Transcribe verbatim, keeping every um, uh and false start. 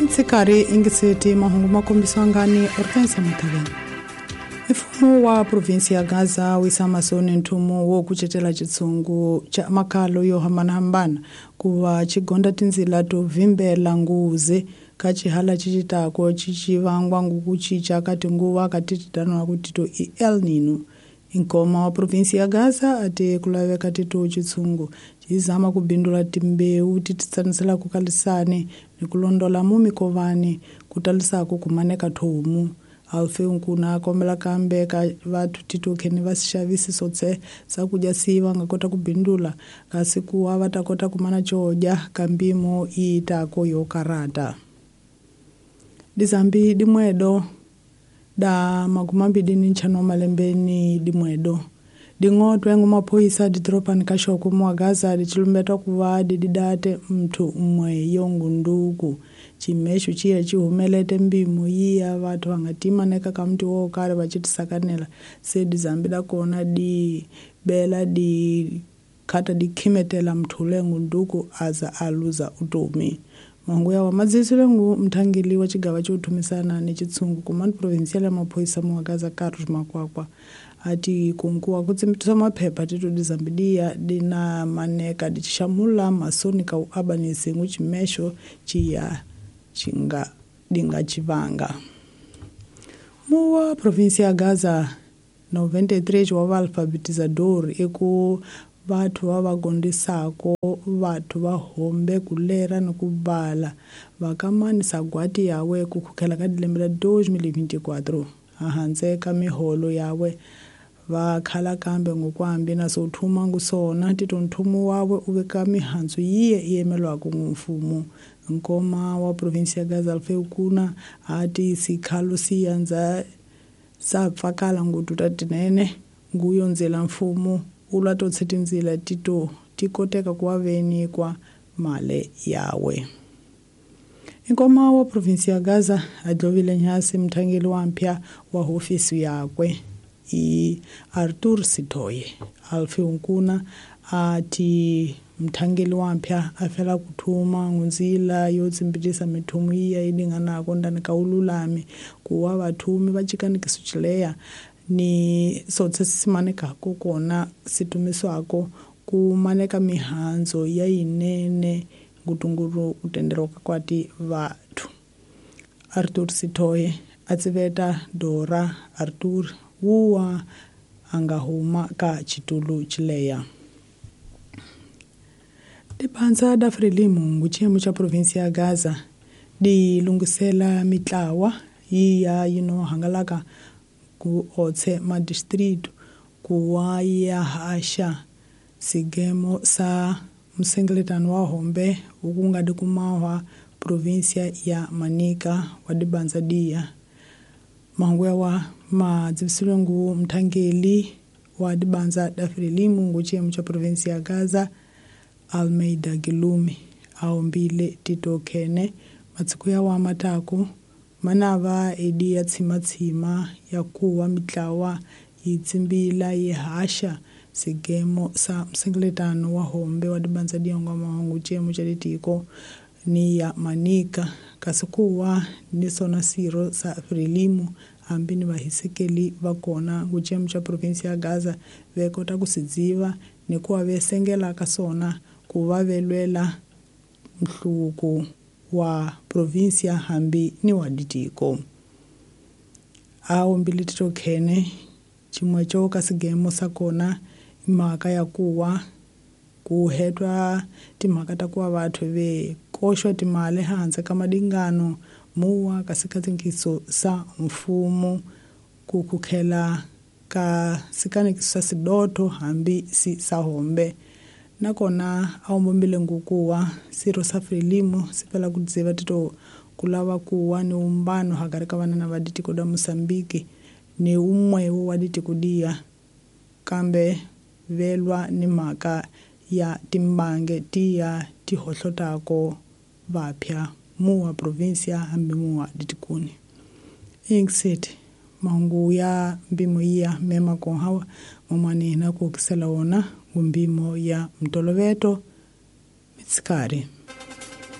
Nsikari ingiseti mahungu makombiswa ngani Hortensia Mutaveni. Mfumo wa provinsi ya Gaza wisa masoni nthumu wo kucetela chitsungu cha makalo yo hambanahambana kuva chigonda tinzila to vimbela nguze ka chihala chichitako chichivangwa ngukuchicha kati nguva katititano kutito i El Nino. Nkoma wa provinsi ya Gaza ati kulaveka tito chitsungu chizama kubindula timbeu tititsanisela kukalisane ni kulondola mumikovani kutalisako kumaneka thomu. Alfe unkuna kombela kambe ka vathu titokheni va xavisi sotse sakudya siva nga kota kubindula kasi kuwa va ta kota kumana codya ka mpimo yi tako yo karata. Dizambi dimwedo da makumambili ni ntlhanu wa malembeni dimwedo ding'otwe ngu maphoyisa didorobani ka Xoko muwa Gaza dichilumbetwa kuva dididate mnthu umwe yongunduku. Chimexo chiya chihumelete mpimo yiya vathu va nga timaneka ka mntu wo karhi va chitisakanela se dizambi da kona di bela di khata di khimetela mnthu lengunduku aza a luza utomi. Mahungu yawa madzisile ngu mthangeli wa chigava cho thumisana ni chitsungu kumani provincial ya maphoyisa muwa Gaza Carlos Makwakwa ati kunkuwa kutsimbitisa maphepha tito dizambidiya dina maneka dichishamula masoni ka uabanisi ngu chimexo chiya chinga dinga chivanga. Muwa provinsi ya Gaza noventa e três wa vaalfabetizador eku vathu va va gondisako vathu va hombe ku lera ni ku bala vakamani sagwati yawe ku khukhela ka dilembe la dois mil e vinte e quatro ahandze ka miholo yawe va khala kambe ngokwambi na so thuma ngusona tito nthumu wawe u veka mihandzu yiye yi yemelwaka ngu mfumo. Nkoma wa provinsi ya Gaza Alfeu Kuna ati sikhalo siyanza sapfakala ngututa tinene nguyo ndzela mfumo ulwa totse tindzila tito tikoteka kuva venikwa male yawe. Nkoma wa provinsi ya Gaza adlovile nyasi mthangeli wa mpya wa hofisi yakwe i Arthur Sitoye. Alfeu Nkuna ati mthangeli wa mpya afela kuthuma ngunzila yo tsimbitisa mithumu iya idinganako ndani ka ululami kuwa vathumi va chikanikiso chileya ni sotse simanekako kona situmiswako kumaneka mihandzo ya yinene ngutunguru kutenderoka kwati vathu. Arthur Sitoye atsiveta Dora Arthur wuwa anga huma ka chitulu chileya. Dipanza da Frelimo nguchiyemo cha provinsi ya Gaza di lungisela mitlawa yiya yino hangalaka ku otse madistritu kuwa ya hasha sigemo sa msengeletano wa hombe ukungadi kumahwa provinsia ya Manica wa dibanza dia. Mahungu yawa madzivisile ngu mthangeli wa dibanza da Frelimo nguchiyemo cha provinsi ya Gaza Almeida Gilumi aombile Tito Kene matsiku ya wa matako manava edi ya tsimatsima ya kuwa mitlawa yitsimbila yihasha sigemo sa msengeletano wa hombe wa dibanza diongo mahungu chemo cha ditiko ni ya Manica kasi kuwa ni sona siro sa Frelimo ambini vahisekeli vakona nguchemo cha provinsi ya Gaza vekota kusidziva ni kuwa vesengela kasona kuva velwela mhluku wa provinsia hambi ni wa ditiko. Aombile Tito Kene chimwe cho kasigemo sakona imhaka ya kuwa kuhetwa timhaka ta kuwa vathu ve koxwa timali hansi ka madingano muwa kasikatinkiso sa mfumo ku kukhela ka sikanekiso sa sidoto hambi si sa hombe. Nakona aombombile ngukuwa siro sa Frelimo sipela kudziva tito kulava kuwa ni umbano hakari ka vanana va ditiko da Mosambiki ni umwewo wa ditiko diya kambe velwa ni mhaka ya timbange tiya tihohlotako vapya muwa provinsia hambi muwa ditikuni. Ingiseti mahungu ya mpimo iya mema konhawa mamani na kuokisela wona ngumbimo ya mtoloveto mitsikari.